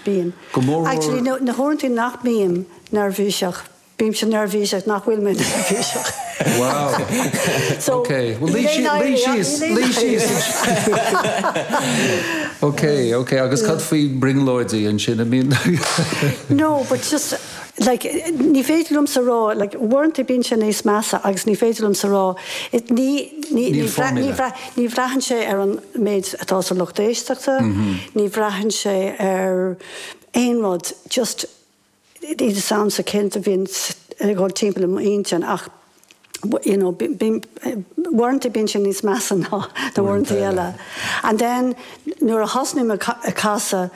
Bíonn. Go mór mór. Actually, na huaireanta nach mbím neirbhíseach, bímse neirbhíseach nach bhfuil mé neirbhíseach. Wow. So, Ok, well luigh luigh síos, luigh síos. Ok, ok, agus cad faoi brionglóidí ansin, I mean. No, but just, like, ní féidir liomsa rá, like, uaireanta bíonn sé níos measa agus ní féidir liomsa rá, it, ní, ní, Níl ní, formula. ní bhraitheann sé ar an méid atá sa lucht éisteachta, ní bhraitheann sé ar aon rud, just, níl fhios a'msa céard a bhíonn ag dul timpeall i m'intinn ach, you know, bíonn, uaireanta bíonn sé níos measa ná na uaireanta eile. And then nuair a thosnaím ag casadh,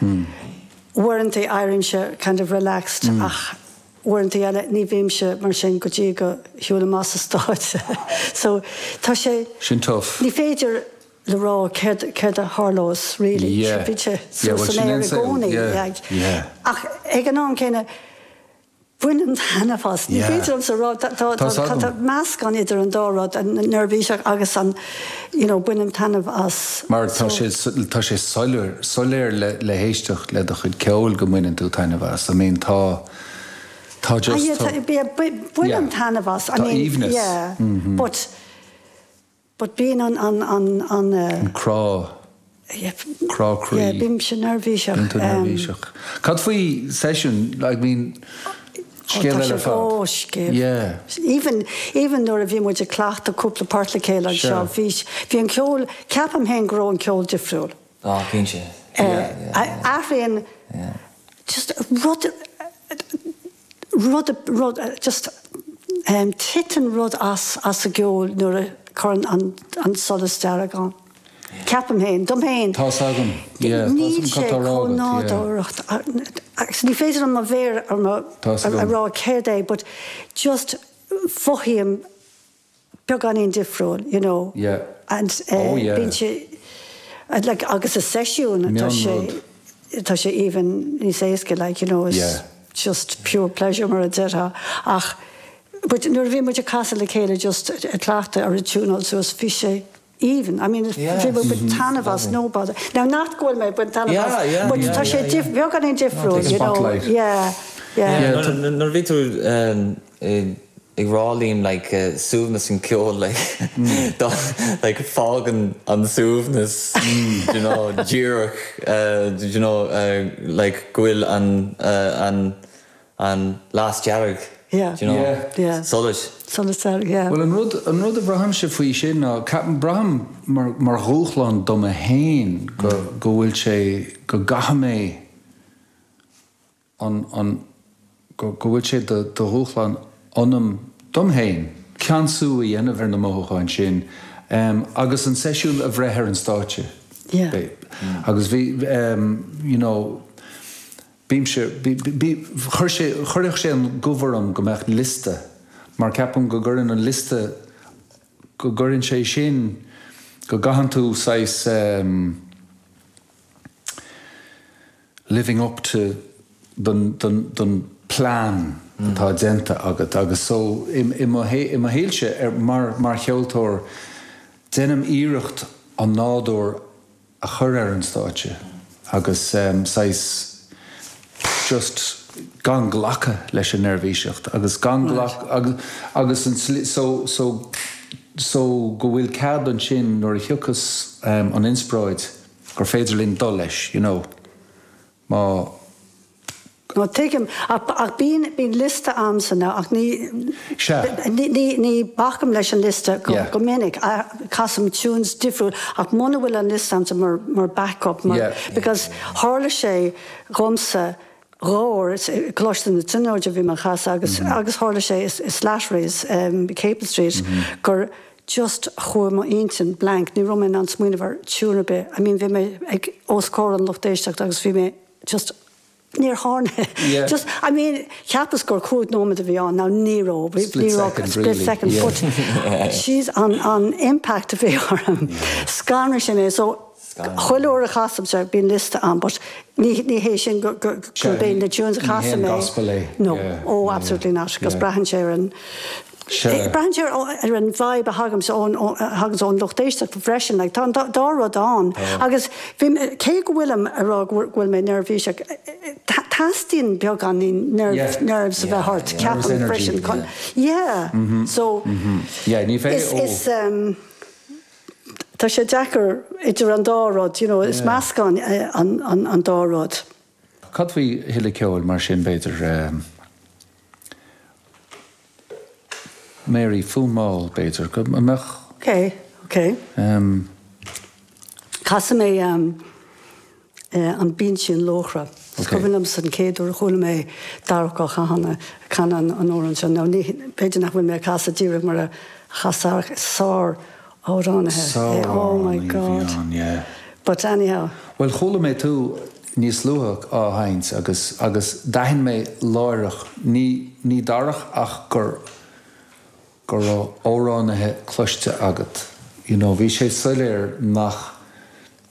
uaireanta éirímse kind of relaxed ach uaireanta eile ní bhímse mar sin go dtí go shiúlaim as an stáitse. So tá sé, Sin tough. ní féidir le rá céard, céard a tharlós really. Yeah. Bíonn sé Yeah, suas well san sin aer an i saol. gcónaí. Yeah, yeah. Ach ag an am céanna, bainim taitneamh as. Ní Yeah. féidir liomsa rá, tá, tá, Tá's tá, tá agam. meascán idir an dá rud, an neirbhíseach agus an, you know, bainim taitneamh as. Mar tá So. sé, tá sé soiléir, soiléir le, le héisteacht le do chuid ceoil go mbaineann tú taitneamh as. I mean tá, tá Ah just, yeah, tá, tá, yeah, bainim yeah. taitneamh as. I Tá mean, aoibhneas. yeah, but, But bíonn an, an, an, an eh. An crá. Yeah. Crá croí. Yeah, bímse neirbhíseach. Bíonn tú neirbhíseach. Cad faoi seisiún, I mean, scéal eile ar fad. Ó, scéal. Yeah. Even, even nuair a bhí muid ag cleachtadh cúpla port le chéile anseo, bhí, bhí an ceol, ceapaim féin go raibh an ceol difriúil. Á, cinnte. Eh, athraíonn, just rud, rud, rud, just titeann rud as, as an gceol nuair a chuireann an, an solas dearg ann. Ceapaim féin, dom féin. Tá's agam, yeah, tá's Níl agam sé cad tá á rá chomh agat, yeah. nádúrtha, agus ní féidir liom mo mhéar ar mo, Tá's a agam. rá céard é, but just mothaím beagáinín difriúil, you know. Yeah. And Oh yeah. bíonn sé, like, agus i seisiún tá sé, tá sé even níos éasca, like, you know, it's Yeah. just pure pleasure mar a déarfá. Ach, but nuair a bhí muid ag casadh le chéile just ag cleachtadh ar an tiúnáil suas, bhí sé aoibhinn. I mean, bhí muid ag baint taitneamh as, no bother. Now, nach go bhfuil mé ag baint taitneamh Yeah, as, yeah, but yeah, tá sé yeah, dif-, beagáinín difriúil, you know. Spotlight. Yeah, yeah. Yeah, tá- Nuair a bhí tú i ag rá Liam like suaimhneas an ceol like dá like fágann an suaimhneas do you know díreach do you know like go bhfuil an an an las dearg Yeah. do you know Yeah. Yeah. solais. Solas dearg yeah. Bhuel an rud an rud a bhraithimse faoi sin ná ceapaim braithim mar mar dhúshlán dom féin go go bhfuil sé go gcaithfidh mé an, an, go, go bhfuil sé de, de dhúshlán ionam, dom féin, ceansú a dhéanamh ar na mothúcháin sin agus an seisiún a bhreith ar an stáitse. Yeah. Agus bhí, you know, bímse, bí, bí, chuir sé, chuirfeadh sé an gomh orm go mbeadh liosta, mar ceapaim go gcuireann an liosta, go gcuireann sé sin, go gcaitheann tú saghas, living up to don don don plean atá déanta agat agus so i mo i mo shaolse ar mar mar cheoltóir déanaim iarracht an nádúr a chur ar an stáitse agus saghas just gan glacadh leis an neirbhíseacht agus gan glac agus agus an tslí so so so go bhfuil cead ansin nuair a thiocfas an inspioráid gur féidir linn dul leis, you know, má. No, tuigim, ach, ach bíonn, bíonn liosta a'msa now ach ní, Sea. ní, ní, ní bacaim leis an liosta go, Yeah. go minic. Casaim tunes difriúil ach muna bhfuil an liosta a'msa mar, mar backup, mar, Yeah. because tharla sé dhomsa dhá uair, i gColáiste na Tríonóide a bhí mé ag casadh agus, agus tharla sé i, i Slattery's, Capel Street, gur, just chuaigh mo intinn blank, ní raibh mé in ann smaoineamh ar tune ar bith, I mean bhí mé ag os comhair an lucht éisteachta agus bhí mé just níor tharla Yeah. just I mean cheapas gur 5 nóiméad a bhí ann, now ní raibh, bhí Split ní raibh second split really, second yeah. but jeez an an impact a bhí orm, scanraigh sé mé so chuile uair a chasaimse bíonn liosta a'm but ní ní hé sin go go gurb é na tunes a Ní hé chasaim an é. gospel é. No, Yeah, oh yeah, absolutely not, 'cause yeah. braitheann sé ar an Sea. Braitheann sé ar an vibe a thaganns ón, a thaganns ón lucht éisteachta freisin, like tá an dá rud ann. Agus bhí, cé go bhfuilim ag rá go bhfuil mé neirbhíseach, Teastaíonn beagáinín nerves a bheith ort, ceapaim freisin chun, yeah, so is, tá sé deacair idir an dá rud, you know, is meascán é an dá rud. Cad faoi thuilleadh ceoil mar sin, b'fhéidir? Mary, Fonn Mall, b'fhéidir, go mbeadh. Ok, ok. Casfaidh mé An Binsín Luachra. Is cuimhin liomsa an chéad uair a chuala mé Darach Ó Catháin ag canadh an amhrán seo. Now ní, b'fhéidir nach bhfuil mé ag casadh díreach mar a chas Darach, is sár-amhránaithe é, oh my Sár-amhránaí a bhí God. ann, yeah. But anyhow. Bhuel, chuala mé tú níos luaithe á sheinnt agus, agus d'aithin mé láithreach, ní, ní Darach ach gur, go raibh amhránaithe cloiste agat. You know, bhí sé soiléir nach,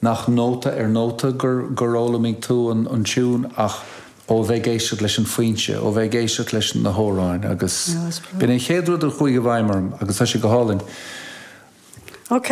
nach nóta ar nóta gur, gur fhoghlaimigh tú an, an tiún ach ó bheith ag éisteacht leis an foinse, ó bheith ag éisteacht leis na hamhráin agus b'in an chéad rud a chuaigh i bhfeidhm orm agus tá sé go hálainn. Ok.